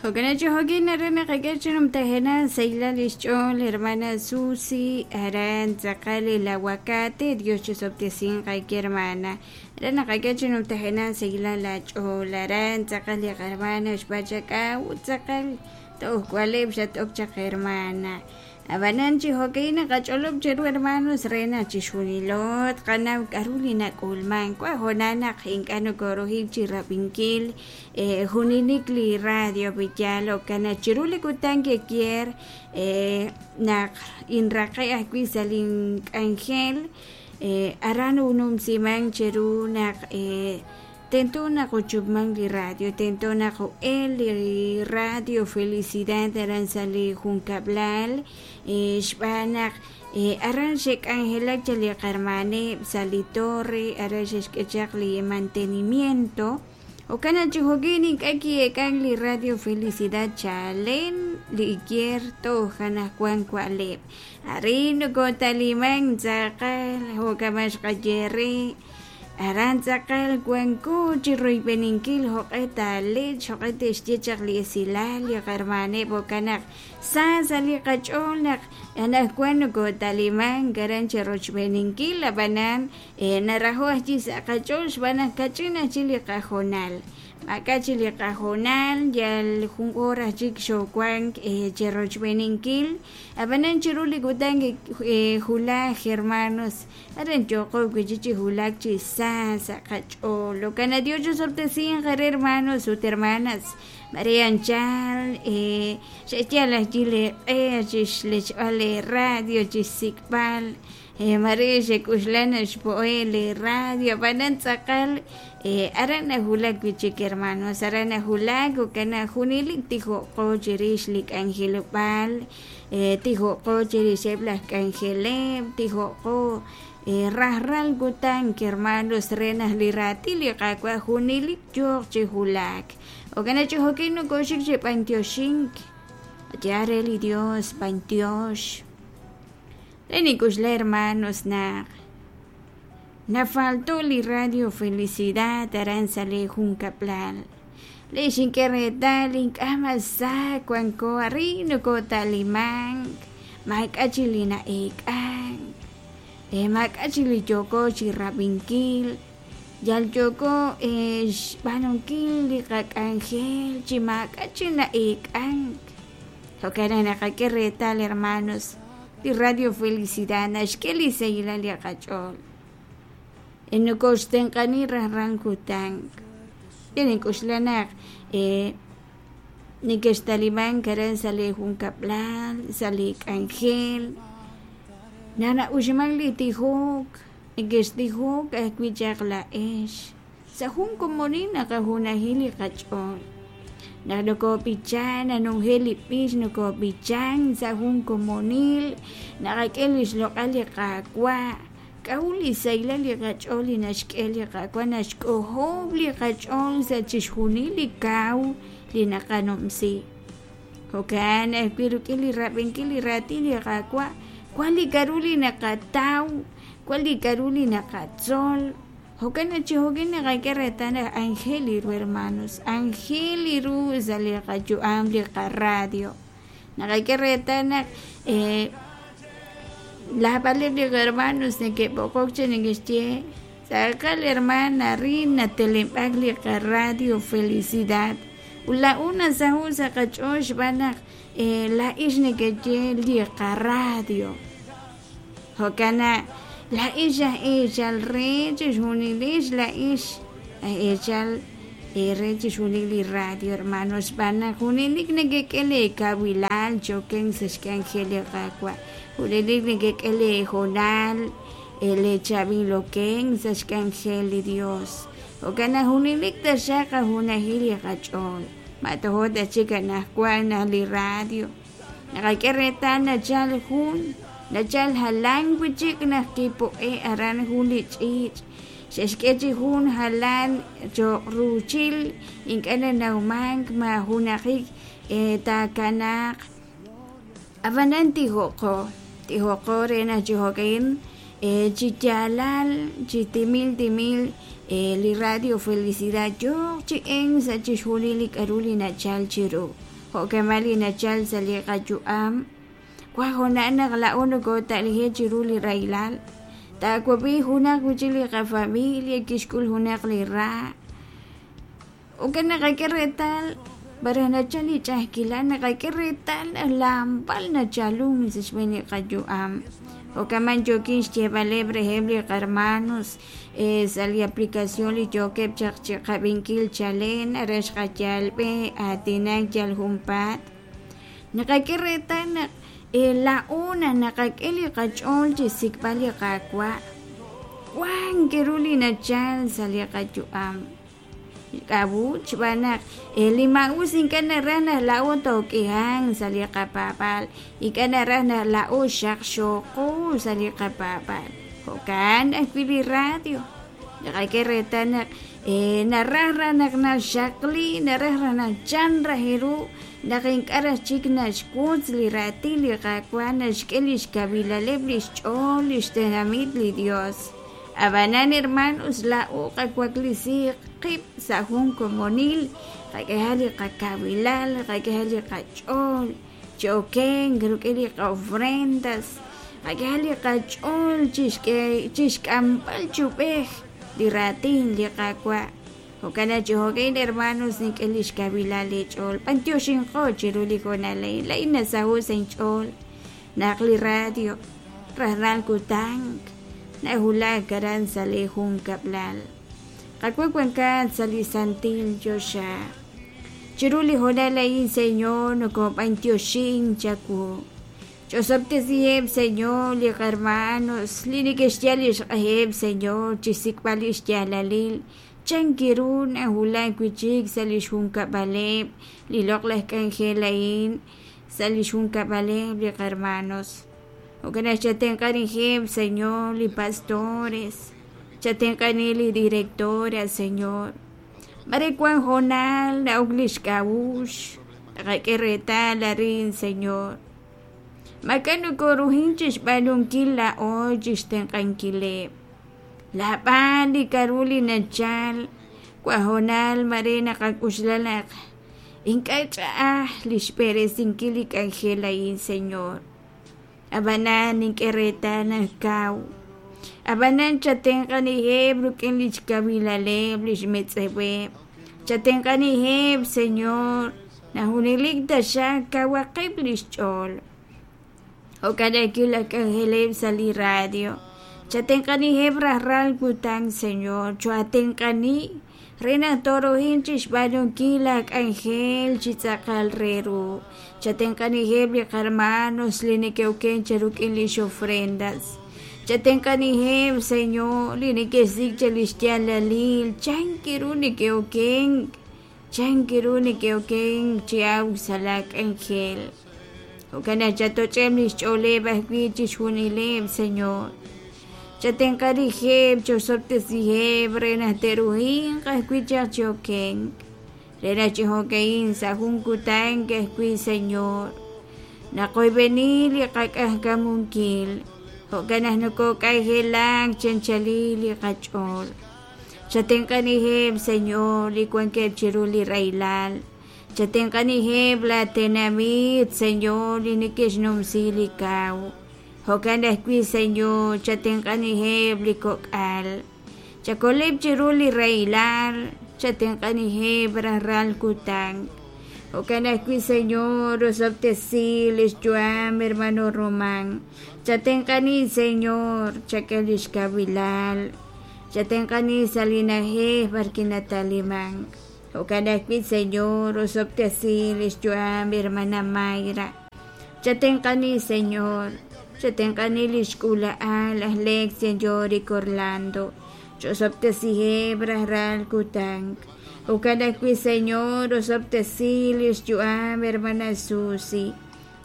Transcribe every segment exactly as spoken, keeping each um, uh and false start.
Jo'kan chi jo'kin aran naqak'e chi numtajenaq sahilal lix ch'ool hermana Susi aran tz'aqal el aguacate. Dios chisob'tesinq ayki hermana, aran naqak'e chi numtajenaq sahilal aach'ool aran tz'aqal li qahermana xpachak'aw ut tz'aqal toj k'ualeb' xat'ok chaq hermana. Ab'anan chi jo'kan naqach'olob' cheru hermanos re naq chixjunilo tqanaw k'aru li nak'ulman wa jonal naq ink'a' nokorujik chi rab'inkil junilik li radio Villalo kana chiru li kutan kekier naq inraqe' ajwi' sa' link'anjel aran unumsiman cheru naq tento naq uchupman li radio, tento naq u'el li radio Felicidad aran sa' li junkab'lal xb'aan naq aran xe'k'anjelak chaq li qarmaneb' sa' li torre aran xe'xk'e chaq li mantenimiento. Jo'kan naq chi jo'kin ink'a' ki'eek'an li radio Felicidad chalen li ikier toj anaqwan wa'leb'. Arin nokotaliman tz'aqal jo'kama xqaye re aran tz'aqal wanko chi royb'eninkil jo'q'e taalech jo'q'e te'xye chaq li esilal li qarmaneb' jo'kan naq sa sa' li qach'ool naq anaqwan nokotaliman aran chi rochb'eninkil ab'anan narajo' ajwi' sa' qach'ool xb'aan naq kach'in ajwi' li qajonal maak'a' chi li qajonal yal jun hora chik xowank chi rochb'eninkil ab'anan chiru li kutan julaj hermanos aran yoqo wi'chik chi julak chi sa sa' qach'ool. Jo'kan naq Dios chisob'tesinq re hermanos ut hermanas María Anchal xe'yal ajwi' li q'e chixlechb'al li radio chixsik'b'al María xe'k'uxlan xpo'e li radio ab'anan tz'aqal aran najulak wi'chik hermanos aran najulak jo'kan naq junelik tijo'qo chirix li k'anjelob'aal tijo'qo chirixeb' laj k'anjeleb' tijo'qo rajlal kutan hermanos re naq li raatin li Qaawa' junelik yooq chi julak. Jo'kan naq chi jo'kin nokoxik chi b'antioxink ya re li Dios b'antiox. Re nik'uxla hermanos naq nafaltó li radio Felicidad aran sa' li junkab'lal le xink'e reetal ink'a' mas sa wanko arin nokotalimank maak'a' chi li na'eek'ank maak'a' chi li yooko chi rab'inkil yal yooko xb'aanunkil li qak'anjel chi maak'a' chi na'eek'ank. Jo'kan naq naqak'e reetal hermanos li radio Felicidad naxk'e li sahilal li qach'ool nokoxtenq'ani rajlal kutan. Nink'uxla naq neke'xtalimank aran sa' li junkab'lal sa' li k'anjel naq na'uxman li tijok neke'xtijok ajwi' chaq la'ex sa' jun komonil naqajunajil li qach'ool naq nokob'ichan nanunjel li b'ix nokob'ichan sa' jun komonil naqak'e li xloq'al li Qaawa' k'aru li sahilal li qach'ool li naxk'e li Qaawa' naxk'ojob' li qach'ool sa' chixjunil li kaw li naqanumsi. Jo'kan ajwi' rik'in li rab'inkil li raatin li Qaawa' wan li k'aru li naqataw wan li k'aru li naqatzol. Jo'kan naq chi jo'kan naqak'e reetal naq anjel li ru hermanos anjel li ru sa' li qayu'am li qaradio naqak'e reetal naq lajb'aleb' li hermanos neke'b'oqok chi neke'xye tz'aqal hermana arin natelenb'ak li qaradio Felicidad ut la'un nasaho' sa' qach'ool xb'aan naq la'ix neke'ye li qaradio. Jo'kan naq la'ix aj eechal re chixjunilix la'ix aj eechal re chixjunil li radio hermanos xb'aan naq junelik nekek'e leekawilal choken sa' xk'anjel li Qaawa' junelik nekek'e leejonal leechaab'iloken sa' xk'anjel li Dios. Jo'kan naq junelik taxaq qajunajil li qach'ool matojo' ta chik anaqwan naq li radio naqak'e reetal nachal jun nachal jalan wi'chik naq kipo'e aran jun li ch'iich' xe'xk'e chi jun jalan cho'q ruuchil ink'a' nanawmank ma junaqik taakanaq ab'anan tijo'qo tijo'qo re naq chi jo'kan chi yaalal chi timil timil li radio Felicidad yooq chi en sa' chixjunil li k'aru li nachal chiru. Jo'kama' li nachal sa' li qayu'am wan hoonal naq laa'o nokota'lije' chiru li rahilal taawab'i junaq wi'chik li qafamilia kixk'ul junaq li ra ukan naqak'e reetal baraj nachal li ch'a'ajkilal naqak'e reetal naq lamb'al nachalun sa' xb'een li qayu'am jo'kaman yookin xyeeb'aleb' reheb' li qarmanos sa' li aplicación li yookeb' chaq chiqab'inkil chalen aran xqayal b'e aatinak yal junpaat naqak'e reetal naq laa'o naq naqak'e li qach'ool chi xsik'b'al li Qaawa' wan k'aru li nachal sa' li qayu'am k'a'ut xb'aan naq li maa'us ink'a' naraj naq laa'o took'ihanq sa' li qapaab'aal ink'a' naraj naq laa'o xaqxooqo sa' li qapaab'aal jo'kan ajwi' li radio naqak'e reetal naq naraj raj naq naxaqli naraj raj naq chan raj ru naq ink'a' raj chik naxwotz li raatin li Qaawa' naxk'e li xkawilaleb' li xch'ool li xtenamit li Dios ab'anan hermanos laa'o qawaklisiiq qib' sa' jun komonil qak'eha li qakawilal qak'eha li qach'ool chi okenk rik'in li qa'ofrendas qak'eha li qach'ool chixk'amb'al chub'ej li raatin li Qaawa' jo'kan chi jo'kan hermanos nink'e li xkawilal li ch'ool b'antioxinqo chiru li hoonal a'in laa'in nasaho' sa' inch'ool naq li radio rajlal kutan nawulak aran sa' li junkab'lal Qaawa' wankat sa' li santil choxa chiru li hoonal a'in Señor nokob'antioxin chawu ch'osob'tesiheb' Señor li qarmanos li neke'xyal li xq'eheb' Señor chixsik'b'al li xyaalalil chan kiru nawulak wi'chik sa' li xjunkab'aleb' li loq'laj k'anjel a'in sa' li xjunkab'aleb' li qarmanos jo'kan naq chatenq'anijeb' Señor li pastores chatenq'ani li directora Señor mare wan hoonal na'ok li xk'a'uxl naqak'e reetal arin Señor mak'a' nokoruhin chixb'aanunkil laa'o chixtenq'ankileb' laab'an li k'aru li nachal wan hoonal mare naqak'uxla naq ink'a' ch'a'aj li xb'eresinkil li k'anjel a'in Señor ab'anan nink'e reetal naq kaw ab'anan chatenq'aniheb' rik'in li xkawilaleb' li xmetz'eweb' chatenq'aniheb' Señor naq junelik taxaq kawaqeb' li xch'ool jo'kan ajwi' laj k'anjeleb' sa' li radio chatenq'aniheb' rajlal kutan Señor choatenq'ani re naq toruhin chixb'aanunkil la k'anjel chi tz'aqal re ru chatenq'aniheb' li qarmanos li neke'oken cheruk'in li xofrendas chatenq'aniheb' Señor li neke'xsik' cha li xyaalalil chan kiru neke'oken chan kiru neke'oken chi awk sa' la k'anjel jo'kan naq chatoch'eb' li xch'ooleb' ajwi' chixjunileb' Señor chatenq'anijeb' chosob'tesiheb' re naq te'ruhinq ajwi' chaq chi okenk re naq chi jo'ka'in sa' jun kutan ajwi' Señor naqoyb'eni li qak'ajkamunkil jo'kan naq nokok'anjelak chanchalil li qach'ool chatenq'aniheb' Señor li wankeb' chiru li rahilal chatenq'aniheb' la tenamit Señor li neke'xnumsi li kaw jo'kan ajwi' Señor chatenq'aniheb' li kok'al chakoleb' chiru li rahilal chatenq'aniheb' rajlal kutan jo'kan ajwi' Señor osob'tesi li xyu'am hermano Román chatenq'ani Señor chak'e li xkawilal chatenq'ani sa' li na'ajej b'arwi' natalimank jo'kan ajwi' Señor osob'tesi li xyu'am hermana Mayra chatenq'ani Señor chatenq'ani li xk'ula'al aj Lex Yorick Orlando chosob'tesiheb' rajlal kutan jo'kan ajwi' Señor osob'tesi li xyu'am hermana Susi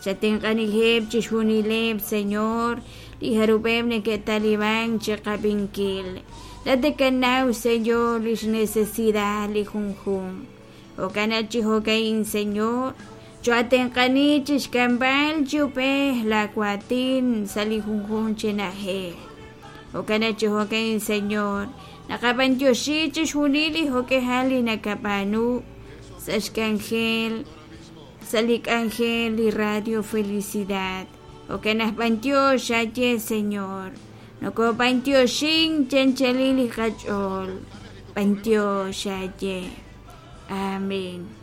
chatenq'aniheb' chixjunileb' Señor li jarub'eb' neke'talimank chiqab'inkil latakanaw Señor li xnecesidad li junjunq jo'kan naq chi jo'ka'in Señor choatenq'ani chixk'amb'al chub'ej la waatin sa' li junjunq chi na'ajej jo'kan naq chi jo'ka'in Señor naqab'antioxi chixjunil li jo'k'ejal li nakab'aanu sa' xk'anjel Sa' li k'anjel li Radio Felicidad. Jo'kan aj b'antiox aye Señor. Nokob'antioxin chanchalil li qach'ool. B'antiox aye. Amén.